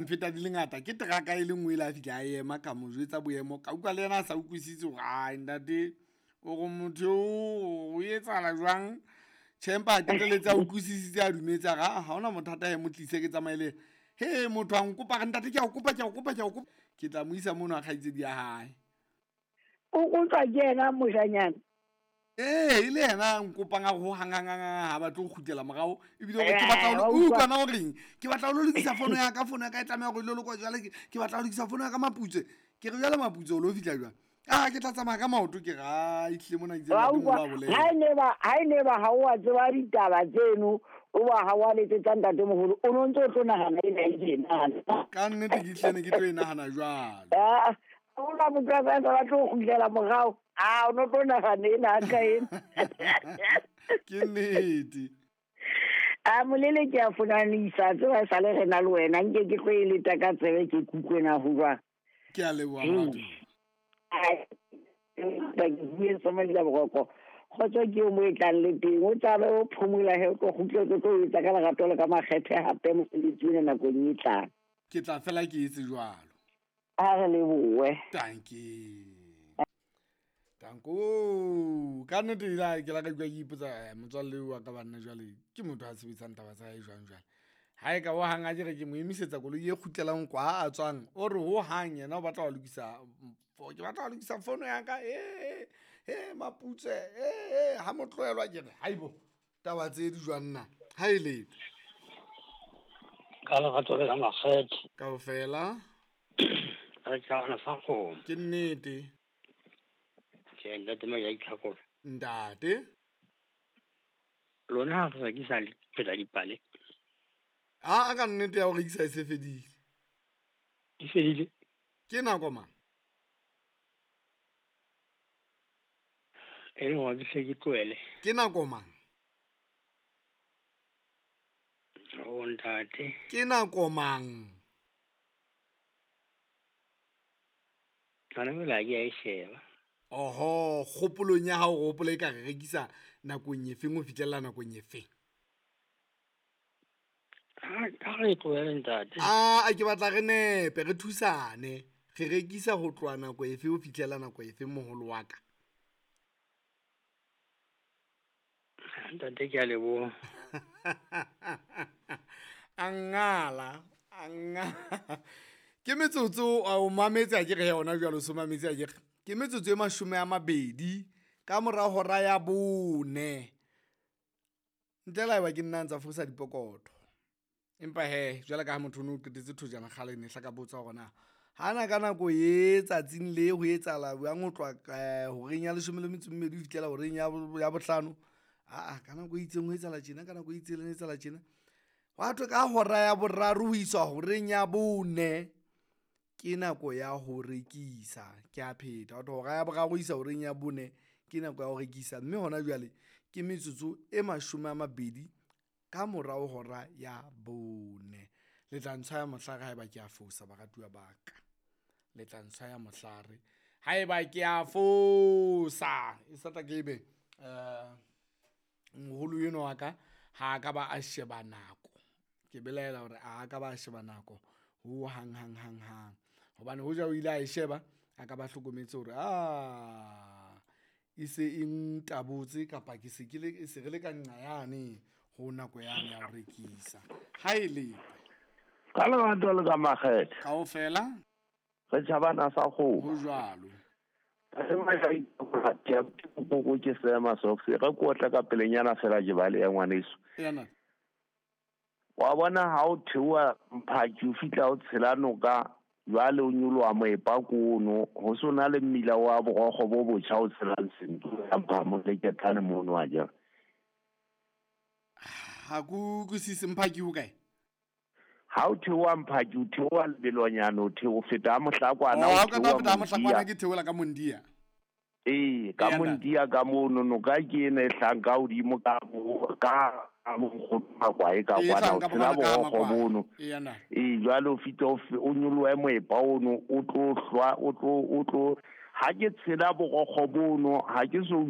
Mfeta di le ngata ke teraka e le nngwe ile a fihla a ema, ka mo jwetsa boemo, ka utlwa le yena a sa utlwisise hore ai ntate o re motho eo o etsahala jwang. Tjhe, empa a qetelletse a utlwisisitse, a dumetse, a re aa ha hona mathata, he mo tlise ke tsamaye le yena. He motho a nkopa a re ntate ke a o kopa, ke a o kopa, ke a o kopa, ke tla mo isa mono ha kgaitsedi ya hae. O utlwa ke yena moshanyana? Ee, e le yena a nkopang a re ho hang hang hang hang ha batle ho kgutlela morao, ebile o re ke batla ho o utlwa na o reng, ke batla ho lo lokisa fono ya ka, fono ya ka e tlameha hore e lo lokwa jwale, ke batla ho lokisa fono ya ka Maputsoe. Ke re jwale Maputsoe o lo fihla jwang? A ke tla tsamaya ka maoto. Ke re a ehlile mona itse Wa ntate utlwa moholo a bolela. ha e ne ba ha e ne ba ha o a tseba ditaba tseno, o ba ha wa letsetsa ntatemoholo, o no ntse o tlo nahana ena e tjena. Ka nnete ke hlile ne ke tlo e nahana jwalo. Ah, ha ona motho a sa batle ho kgutlela morao, a o no tlo nahana ena hantle ena. Ke nnete. A molele ke a fonanisa, tseba e sale re na le wena, nke ke tlo e leta ka tsebe ke kutlwe na ho jwang. Ke a leboha moratuwa. Ai, ke bue sa boroko. Kgotso ke eo mo e tlang le teng, o tlabe o phomola he, o tlo kgutle, o tlo etsa ka lerato le ka makgethe hape mosebetsi ona nakong e tlang. Ke tla fela ke etse jwalo. A re lebohe. Dankie. Danko. Ka nnete ile ke la ka utlwa ke ipotsa, motswalle wa ka banna jwale ke motho a sebetsang taba tsa hae jwang jwale. Ha e ka ho hang a ke re ke mo emisetsa koloi e kgutlelang kwa a tswang, o re ho hang yena o batla ho lokisa, ke batla ho lokisa fono ya ka, e Maputsoe, e ha mo tlohelwa ke re haibo taba tse di jwang na ha e le ka lerato le ka makgethe kaofela. Re tjhabana sa kgomo. Ke nnete. Tjhe, ntate Maja Itlhakola. Ntate. Lona ha re rekisa le pheta dipale. A ka nnete ya ho rekisa e se fedile. E fedile? Ke nako mang? E le hore ke hle ke tlohele. Ke nako mang? O ntate. Ke nako mang? Hona jwale ha ke a e sheba. Oho, kgopolong ya hao o hopola e ka re rekisa nakong e feng ho fihlella nakong e feng? Ha re tlohele ntate. A ke batla re nepe, re thusane. Re rekisa ho tloha nako efe ho fihlella nako efe moholo wa ka? Ntate ke a leboha. A ngala, a ngala. Ke metsotso o mametse a ke re yona jwalo, so mametse a ke re. Ke metsotso e 20 ka mora hora ya 4. Ntle le haeba ke nna ntsa fosa dipokotho. Empa he, jwale ka ha motho o no qetetse thojana kgale ne hla ka botsa hore na hana ka nako e tsatsing le ho etsahala jwang ho tloha horeng ya 12 ho fihlela horeng ya 5. Aa, ka nako e itseng ho etsahala tjena, ka nako e itseng ho etsahala tjena. Hwa thwe ka hora ya 3 ho iswa horeng ya 4 ke nako ya ho rekisa. Ke a pheta, hwa thwe hora ya 3 ho isa horeng ya 4 ke nako ya ho rekisa. Mme hona jwale ke metsotso e 20 ka morao hora ya 4. Le tla ntshwaya mohlare haeba ke a fosa, baratuwa ba ka. Le tla ntshwaya mohlare haeba ke a fosa. E sa tla ke ebe moholo enwa wa ka ha a ka ba a sheba nako. Ke belaela hore a ka ba a sheba nako ho hang hang hang hang. Hobane hoja o ile a e sheba, a ka ba hlokometse hore a e se e ntabotse kapa ke se ke le, se re le ka nqa yane ho nako yane ya ho rekisa. Ha e le ka lerato le ka makgethe kaofela re tjhabana sa kgomo. Ho jwalo. Ke sema socks re kotla ka pelenyana fela ke bale ya ngwaneso. Yana. Wa bona ha o theoha Mphaki o fihla o tshela noka jwale o nyoloha moepa kono ho so na le mmila wa borokgo bo botjha o tshelang Sentu ya Mphamo le Ketane mono wa jere. Ha ke utlwisise Mphaki ho kae? Ha o theoha Mphaki o theoha lebelonyana, o theoha feta Mohlakwana, o o theoha theoha Mohlakwana, ke theola ka Mondia. Ee, ka Mondia ka mono noka ke ena e hlang ka hodimo ka ka Makwae ka kwana, o tshela borokgo mono. Ee, jwale o fihla o nyolohe moepa ono, o tlo hlwa, o tlo, o tlo, ha ke tshela borokgo bono, ha ke so